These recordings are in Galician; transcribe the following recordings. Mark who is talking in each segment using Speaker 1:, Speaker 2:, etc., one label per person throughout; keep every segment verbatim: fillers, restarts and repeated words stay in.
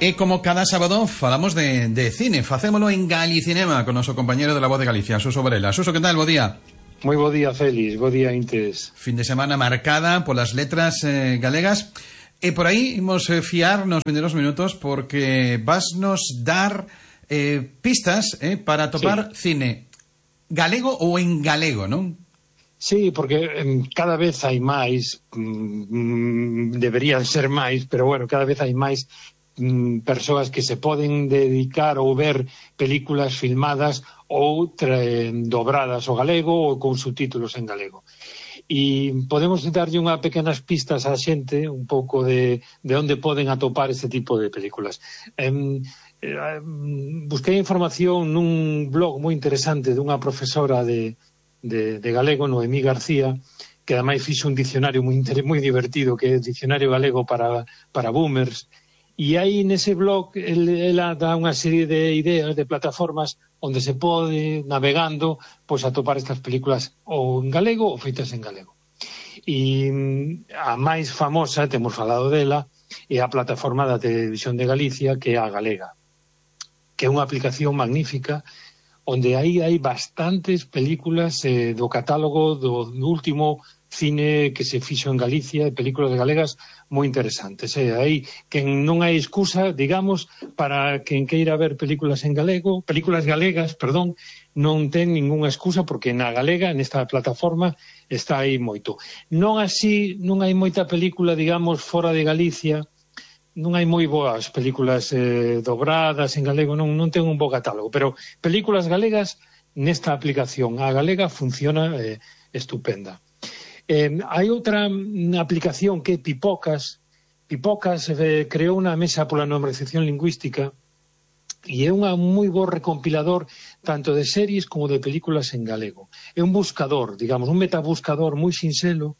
Speaker 1: E como cada sábado falamos de, de cine, facémolo en Galicinema con noso compañero de La Voz de Galicia, Suso Varela. Suso, que tal? Bo día.
Speaker 2: Moi bo día, Félix, bo día, Intes.
Speaker 1: Fin de semana marcada polas letras eh, galegas. E por aí imos eh, fiar nos vindeiros minutos porque vasnos dar eh, pistas eh, para topar sí. cine galego ou en galego, non?
Speaker 2: Sí, porque eh, cada vez hai máis, mm, deberían ser máis, pero bueno, cada vez hai máis mm, persoas que se poden dedicar ou ver películas filmadas ou tra- dobradas ao galego ou con subtítulos en galego. E podemos darlle unhas pequenas pistas á xente un pouco de, de onde poden atopar este tipo de películas. Eh, eh, busquei información nun blog moi interesante dunha profesora de De, de galego, Noemí García, que ademais fixo un dicionario moi, moi divertido, que é o Dicionario Galego para, para Boomers, e aí nese blog el, ela dá unha serie de ideas, de plataformas onde se pode, navegando, pois atopar estas películas ou en galego ou feitas en galego. E a máis famosa, temos falado dela, é a plataforma da Televisión de Galicia, que é a Galega, que é unha aplicación magnífica onde aí hai bastantes películas eh, do catálogo do último cine que se fixo en Galicia, películas de galegas moi interesantes. Eh. Aí que non hai excusa, digamos, para quen queira ver películas en galego, películas galegas, perdón, non ten ningunha excusa porque na galega, nesta plataforma, está aí moito. Non así, non hai moita película, digamos, fora de Galicia. Non hai moi boas películas eh, dobradas en galego, non, non ten un bo catálogo, pero películas galegas nesta aplicación, a galega funciona eh, estupenda. Eh, hai outra aplicación que é Pipocas. Pipocas eh, creou unha mesa pola normalización lingüística e é un moi bo recompilador tanto de series como de películas en galego. É un buscador, digamos, un metabuscador moi sinxelo,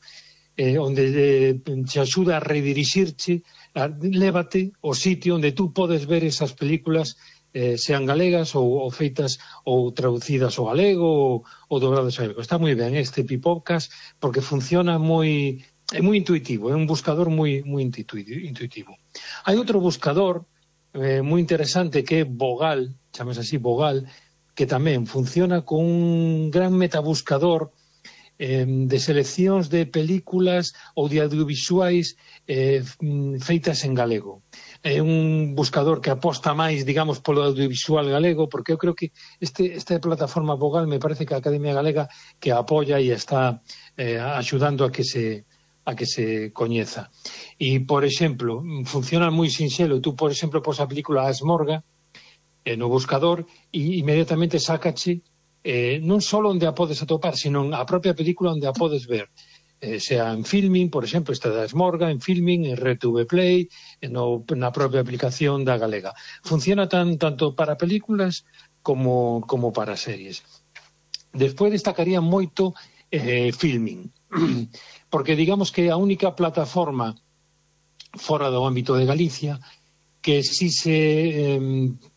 Speaker 2: eh, onde eh, te axuda a redirixirche, a, lévate ao sitio onde tú podes ver esas películas, eh, sean galegas ou, ou feitas ou traducidas ao galego ou, ou dobradas ao galego. Está moi ben este Pipocas porque funciona moi, é moi intuitivo, é un buscador moi, moi intuitivo. Hai outro buscador eh, moi interesante que é Vogal, chamas así Vogal, que tamén funciona con un gran metabuscador de seleccións de películas ou de audiovisuais eh, feitas en galego. É un buscador que aposta máis, digamos, polo audiovisual galego, porque eu creo que este, esta plataforma Vogal me parece que a Academia Galega que apoia e está eh, axudando a que se a que se coñeza. E, por exemplo, funciona moi sinxelo. Tú, por exemplo, pos a película Asmorga eh, no buscador e inmediatamente sácache Eh, non só onde a podes atopar, sino a propia película onde a podes ver, eh, sea en Filmin, por exemplo, esta da Esmorga, en Filmin, en R T V Play, no, na propia aplicación da Galega. Funciona tan, tanto para películas como, como para series. Despois destacaría moito eh, Filmin, porque digamos que é a única plataforma fora do ámbito de Galicia que si se eh,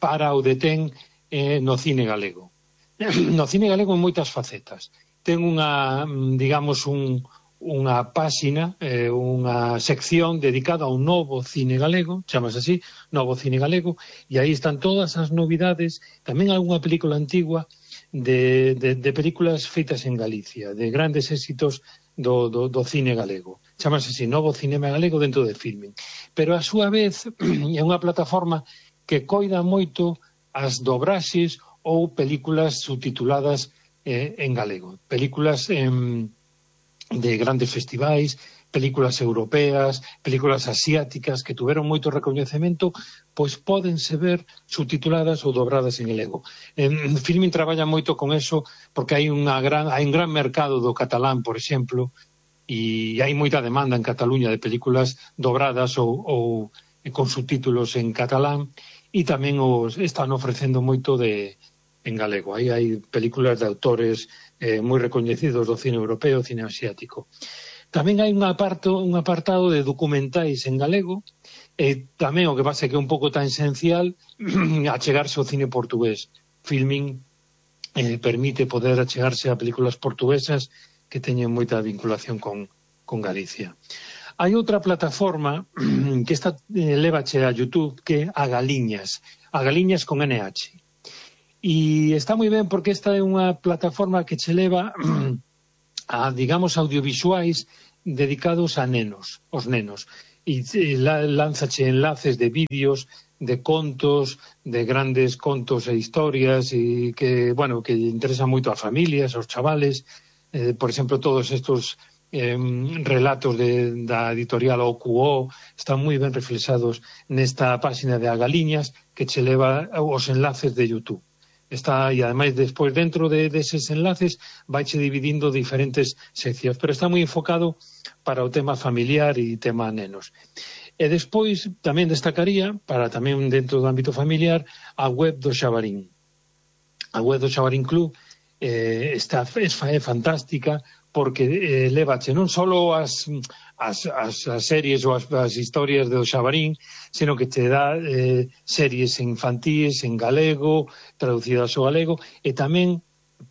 Speaker 2: para ou detén eh, no cine galego. No cine galego en moitas facetas. Ten unha, digamos, un, unha páxina, eh, unha sección dedicada ao novo cine galego, chamas así, novo cine galego, e aí están todas as novidades, tamén algunha película antigua de, de, de películas feitas en Galicia, de grandes éxitos do, do, do cine galego. Chamas así, novo cinema galego dentro de Filmin. Pero a súa vez é unha plataforma que coida moito as dobraxes ou películas subtituladas eh, en galego. Películas eh, de grandes festivais, películas europeas, películas asiáticas que tuveron moito recoñecemento, pois pódense ver subtituladas ou dobradas en galego. En Filmin traballa moito con eso porque hai, unha gran, hai un gran mercado do catalán, por exemplo, e hai moita demanda en Cataluña de películas dobradas ou, ou con subtítulos en catalán, e tamén os están ofrecendo moito de en galego. Aí hai películas de autores eh, moi recoñecidos do cine europeo, cine asiático. Tamén hai un apartado, un apartado de documentais en galego, e tamén o que pasa é que é un pouco tan esencial achegarse ao cine portugués. Filmin eh, permite poder achegarse a películas portuguesas que teñen moita vinculación con, con Galicia. Hai outra plataforma que esta eh, lévache a YouTube, que é a Galiñas, a Galiñas con N H. E está moi ben porque esta é unha plataforma que che leva a, digamos, audiovisuais dedicados a nenos, os nenos. E lánzache enlaces de vídeos, de contos, de grandes contos e historias e que, bueno, que interesan moito a familias, aos chavales. Eh, por exemplo, todos estos eh, relatos de, da editorial O Q O están moi ben reflexados nesta páxina de A Galiñas, que che leva os enlaces de YouTube. Está, e ademais despois dentro de deses enlaces vaiche dividindo diferentes seccións, pero está moi enfocado para o tema familiar e tema nenos. E despois tamén destacaría, para tamén dentro do ámbito familiar, a web do Xabarín. A web do Xabarín Club eh, está, é, é fantástica porque eh, levache non só as, as, as, as series ou as, as historias do Xabarín, sino que te dá eh, series infantíes en galego, traducidas ao galego, e tamén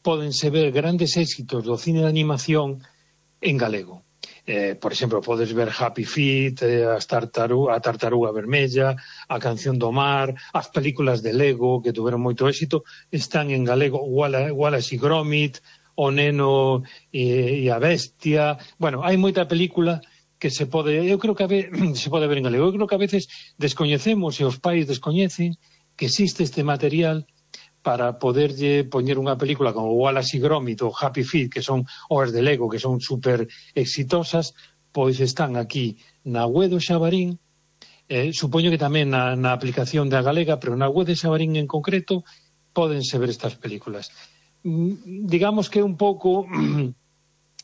Speaker 2: pódense ver grandes éxitos do cine de animación en galego. Eh, por exemplo, podes ver Happy Feet, eh, as tartaru a Tartaruga Vermella, a Canción do Mar, as películas de Lego que tuveron moito éxito, están en galego. Wallace, Wallace e Gromit, O Neno e, e a Bestia. Bueno, hai moita película que se pode, eu creo que a ve, se pode ver en galego. Eu creo que a veces descoñecemos e os pais descoñecen que existe este material para poderlle poñer unha película como Wallace e Gromit ou Happy Feet, que son obras de Lego, que son super exitosas, pois están aquí na web do Xabarín, eh, supoño que tamén na, na aplicación da Galega, pero na web de Xabarín en concreto pódense ver estas películas. Digamos que un pouco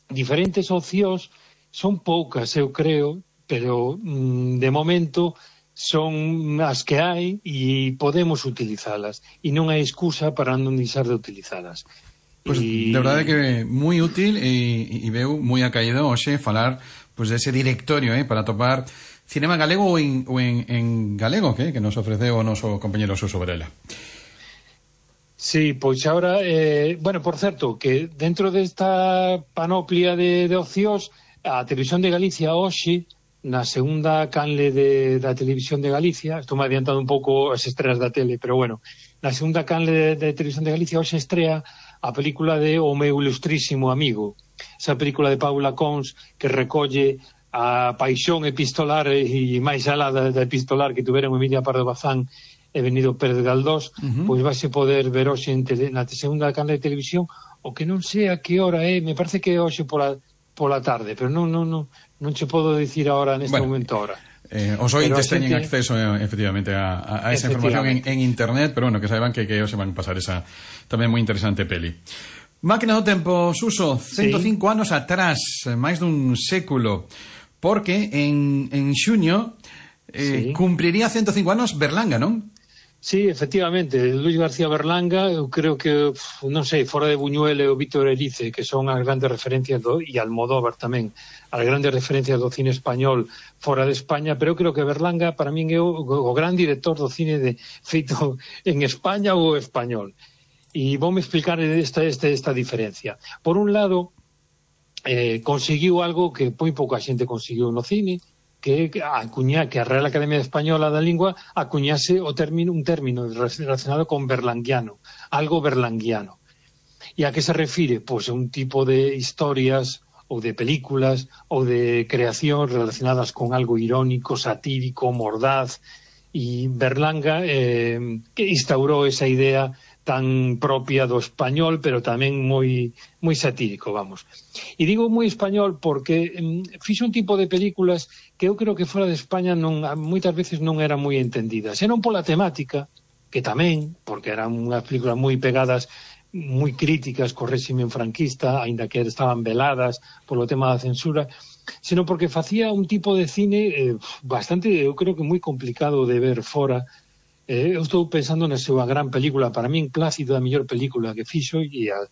Speaker 2: diferentes opcións, son poucas, eu creo, pero de momento son as que hai e podemos utilizalas e non hai excusa para non deixar de utilizalas.
Speaker 1: Pues y... de verdade que moi útil e, e veu moi acaído hoxe falar pues, dese directorio eh, para topar cinema galego ou en, ou en, en galego que, que nos ofreceu o noso compañero Suso Varela.
Speaker 2: Sí, pois agora, eh, bueno, por certo, que dentro desta panoplia de, de opcións, a Televisión de Galicia hoxe, na segunda canle de, da Televisión de Galicia, estou me adiantando un pouco as estreas da tele, pero bueno, na segunda canle de, de Televisión de Galicia hoxe estrea a película de O meu ilustrísimo amigo, esa película de Paula Cons que recolle a paixón epistolar e máis alá da, da epistolar que tuveron Emilia Pardo Bazán e Benito Pérez Galdós, uh-huh. pois vais poder ver hoxe en tele, na segunda canle de televisión, o que non sei a que hora é, me parece que é hoxe pola, pola tarde, pero non, non, non, non che podo dicir agora neste bueno, momento ahora.
Speaker 1: Eh, os ointes teñen gente... acceso eh, efectivamente a, a esa información en, en internet, pero bueno, que saiban que, que hoxe van pasar esa tamén moi interesante peli. Máquina do tempo, Suso, ciento cinco sí. anos atrás, máis dun século, porque en, en xuño eh, sí. cumpriría ciento cinco anos Berlanga, non?
Speaker 2: Sí, efectivamente, Luis García Berlanga, eu creo que, non sei, fora de Buñuel e o Víctor Erice, que son as grandes referencias do, e Almodóvar tamén, as grandes referencias do cine español fora de España, pero eu creo que Berlanga para min é o, o gran director do cine de, feito en España ou español. E voume explicar esta, esta, esta diferencia. Por un lado, eh, conseguiu algo que moi pouca xente conseguiu no cine, que acuña, que a Real Academia Española da Lingua acuñase o término, un término relacionado con berlanguiano, algo berlanguiano. E a que se refire? Pois a un tipo de historias ou de películas ou de creación relacionadas con algo irónico, satírico, mordaz, e Berlanga eh, que instaurou esa idea tan propia do español, pero tamén moi moi satírico, vamos. E digo moi español porque mm, fixo un tipo de películas que eu creo que fora de España non, moitas veces non eran moi entendidas. E non pola temática, que tamén, porque eran unhas películas moi pegadas, moi críticas co réxime franquista, aínda que estaban veladas polo tema da censura, sino porque facía un tipo de cine eh, bastante, eu creo que moi complicado de ver fora. Eh, eu estou pensando na súa gran película, para min Plácido, a mellor película que fixo e a,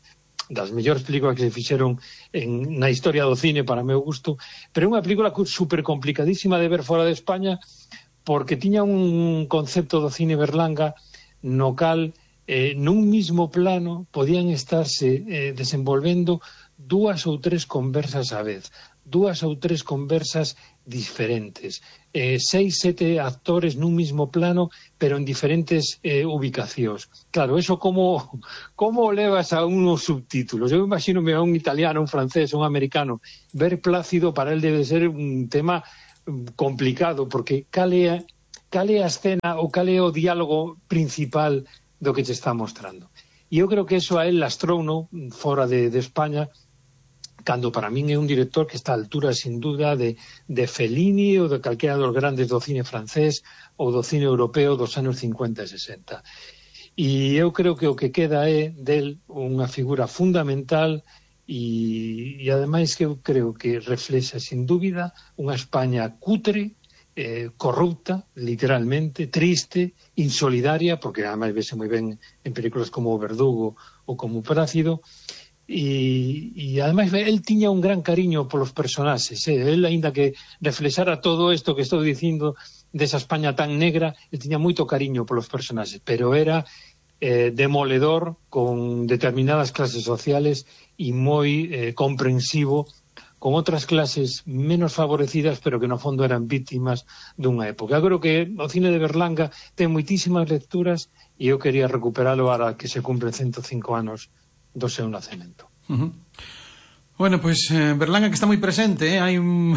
Speaker 2: das mellores películas que se fixeron en, na historia do cine para meu gusto, pero é unha película super complicadísima de ver fora de España porque tiña un concepto do cine Berlanga no cal eh, nun mismo plano podían estarse eh, desenvolvendo dúas ou tres conversas á vez, dúas ou tres conversas diferentes. Eh, seis, sete actores nun mismo plano, pero en diferentes eh, ubicacións. Claro, eso como, como levas a unos subtítulos? Eu imagino a un italiano, un francés, un americano, ver Plácido para él debe ser un tema complicado, porque cal é a, cal é a escena ou cal é o diálogo principal do que te está mostrando. E eu creo que eso a él lastrouno fora de, de España, cando para min é un director que está a altura, sin duda, de, de Fellini ou de calquera dos grandes do cine francés ou do cine europeo dos anos cincuenta e sesenta. E eu creo que o que queda é del unha figura fundamental e, e ademais que eu creo que reflexa, sin dúbida, unha España cutre, Eh, corrupta, literalmente, triste, insolidaria, porque además vese moi ben en películas como O Verdugo ou como Plácido, e, e además el tiña un gran cariño polos personaxes, eh? El, aínda que reflexara todo isto que estou dicindo desa España tan negra, el tiña moito cariño polos personaxes, pero era eh, demoledor con determinadas clases sociales e moi eh, comprensivo con outras clases menos favorecidas, pero que no fondo eran víctimas dunha época. Eu creo que o cine de Berlanga ten moitísimas lecturas e eu quería recuperalo para que se cumpren ciento cinco anos do seu nacemento.
Speaker 1: Uh-huh. Bueno, pois pues, eh, Berlanga que está moi presente, eh? hai un...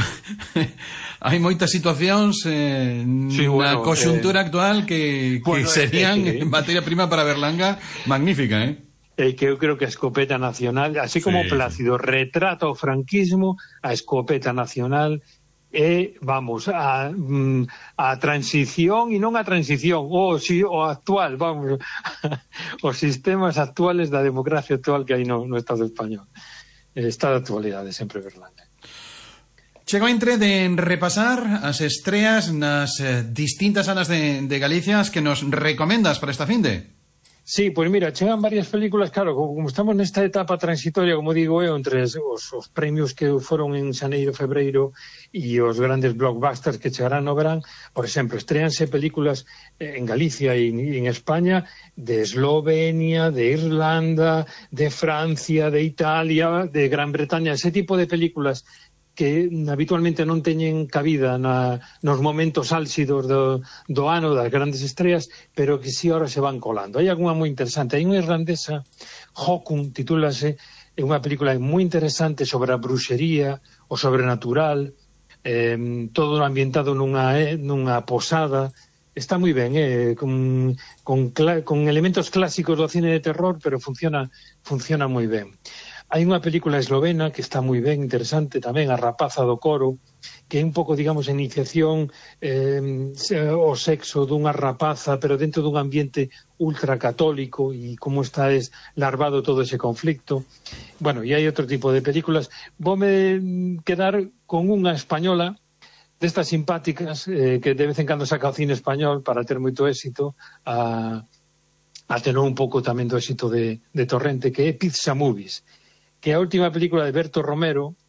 Speaker 1: hai moitas situacións eh, sí, na bueno, coxuntura eh... actual que, que bueno, serían eh, eh, materia prima para Berlanga magnífica, eh?
Speaker 2: Eh, que eu creo que a escopeta nacional, así como sí, Plácido sí. retrata o franquismo, a escopeta nacional é, vamos, a, a transición, e non a transición, o, si, o actual, vamos, os sistemas actuales da democracia actual que hai no, no Estado español. Está de actualidade sempre Berlanga.
Speaker 1: Chego entre de repasar as estreas nas eh, distintas salas de, de Galicia que nos recomendas para esta finde.
Speaker 2: Sí, pois pues mira, chegan varias películas, claro, como estamos nesta etapa transitoria, como digo eu, entre os, os premios que foron en xaneiro, febreiro e os grandes blockbusters que chegarán no verán, por exemplo, estreanse películas en Galicia e en España de Eslovenia, de Irlanda, de Francia, de Italia, de Gran Bretaña, ese tipo de películas que habitualmente non teñen cabida na, nos momentos álxidos do, do ano das grandes estreas, pero que si ahora se van colando. Hai algunha moi interesante. Hai unha irlandesa, Hokun, titúlase, é unha película moi interesante sobre a bruxería, o sobrenatural, eh, todo ambientado nunha, eh, nunha posada. Está moi ben, eh, con, con, con elementos clásicos do cine de terror, pero funciona, funciona moi ben. Hai unha película eslovena que está moi ben, interesante tamén, A rapaza do coro, que é un pouco, digamos, a iniciación eh, o sexo dunha rapaza, pero dentro dun ambiente ultracatólico e como está es larvado todo ese conflicto. Bueno, e hai outro tipo de películas. Voume quedar con unha española destas simpáticas eh, que de vez en cando saca o cine español para ter moito éxito, a, a tener un pouco tamén do éxito de, de Torrente, que é Pizza Movies, que é a última película de Berto Romero,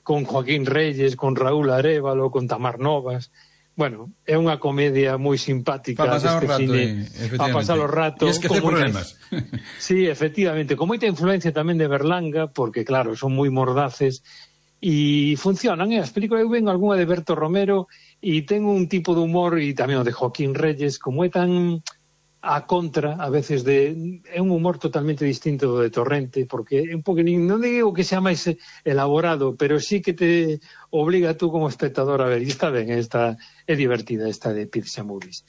Speaker 2: con Joaquín Reyes, con Raúl Arévalo, con Tamar Novas. Bueno, é unha comedia moi simpática.
Speaker 1: Para pasar o rato,
Speaker 2: cine,
Speaker 1: eh,
Speaker 2: para pasar o rato.
Speaker 1: E esquecer problemas.
Speaker 2: Sí, efectivamente, con moita influencia tamén de Berlanga, porque claro, son moi mordaces, e funcionan, eh? As películas, eu ven algunha de Berto Romero, e ten un tipo de humor, e tamén o de Joaquín Reyes, como é tan a contra, a veces, de é un humor totalmente distinto do de Torrente, porque é un poquenín, non digo que sea máis elaborado, pero sí que te obliga tú como espectador a ver, e está ben, esta é divertida esta de Pizza Movies.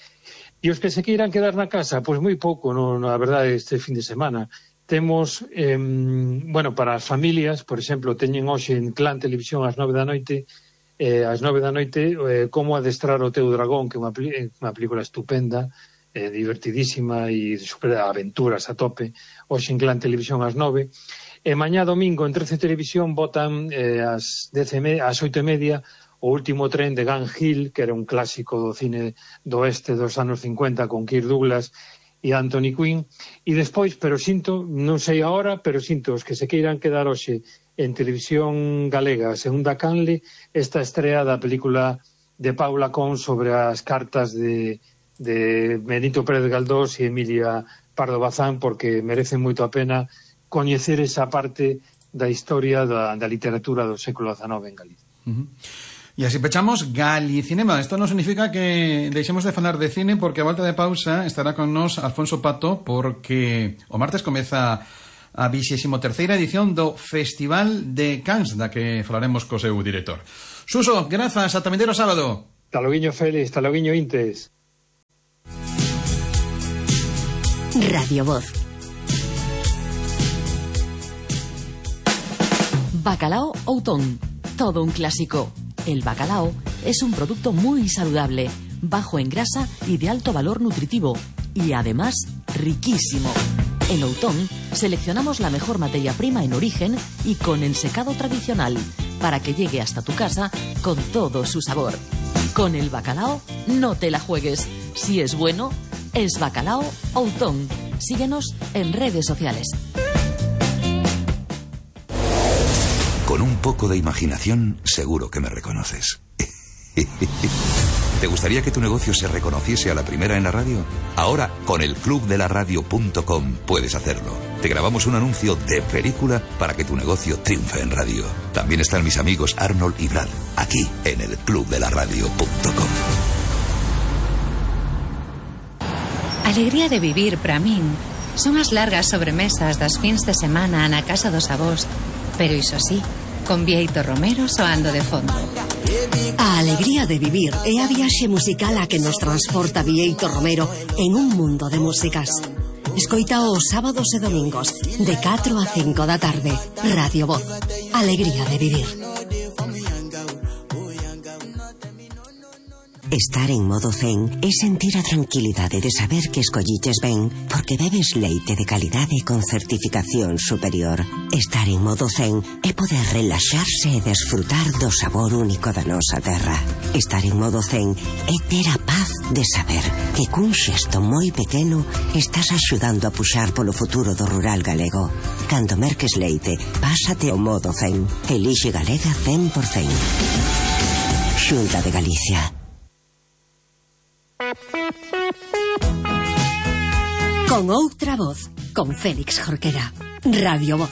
Speaker 2: E os que se queiran quedar na casa, pois pues moi pouco, no, na verdade, este fin de semana. Temos, eh, bueno, para as familias, por exemplo, teñen hoxe en Clan Televisión ás nove da noite, eh, ás nove da noite, eh, Como adestrar o teu dragón, que é unha, unha película estupenda, eh, divertidísima e de super aventuras a tope, hoxe en Clan Televisión ás nove. E mañá domingo en trece Televisión botan eh, ás, dez e media, ás oito e media o último tren de Gun Hill, que era un clásico do cine do oeste dos anos cincuenta con Kirk Douglas e Anthony Quinn. E despois, pero sinto, non sei a hora, pero sinto os que se queiran quedar hoxe en Televisión Galega, segunda canle, esta estrea da película de Paula Con sobre as cartas de de Benito Pérez Galdós e Emilia Pardo Bazán, porque merece moito a pena coñecer esa parte da historia da, da literatura do século dezanove en Galicia.
Speaker 1: Uh-huh. Y así pechamos Galicinema. Esto no significa que deixemos de falar de cine, porque a volta de pausa estará con nos Alfonso Pato, porque o martes comeza a vixésimo terceira edición do Festival de Cannes, da que falaremos co seu director. Suso, grazas, ata vindeiro sábado.
Speaker 2: Hasta loguiño, Félix, hasta loguiño, Intes.
Speaker 3: Radio Voz. Bacalao Outón, todo un clásico. El bacalao es un producto muy saludable, bajo en grasa y de alto valor nutritivo, y además riquísimo. En Outón seleccionamos la mejor materia prima en origen y con ensecado tradicional, para que llegue hasta tu casa con todo su sabor. Con el bacalao no te la juegues. Si es bueno, es Bacalao Outón. Síguenos en redes sociales.
Speaker 4: Con un poco de imaginación, seguro que me reconoces. ¿Te gustaría que tu negocio se reconociese a la primera en la radio? Ahora, con el club de la radio punto com puedes hacerlo. Te grabamos un anuncio de película para que tu negocio triunfe en radio. También están mis amigos Arnold y Brad, aquí en el club de la radio punto com.
Speaker 5: Alegría de vivir para min son as largas sobremesas das fins de semana na casa dos avós, pero iso sí, con Bieito Romero soando de fondo.
Speaker 3: A alegría de vivir é a viaxe musical a que nos transporta Bieito Romero en un mundo de músicas. Escoita os sábados e domingos de catro a cinco da tarde. Radio Voz. Alegría de vivir.
Speaker 6: Estar en modo zen é sentir a tranquilidade de saber que escolliches ben porque bebes leite de calidade con certificación superior. Estar en modo zen é poder relaxarse e desfrutar do sabor único da nosa terra. Estar en modo zen é ter a paz de saber que cun xesto moi pequeno estás axudando a puxar polo futuro do rural galego. Cando merques leite, pásate ao modo zen. Elixe Galega cen por cen. Xunta de Galicia.
Speaker 3: Con outra voz, con Félix Jorquera. Radio Voz.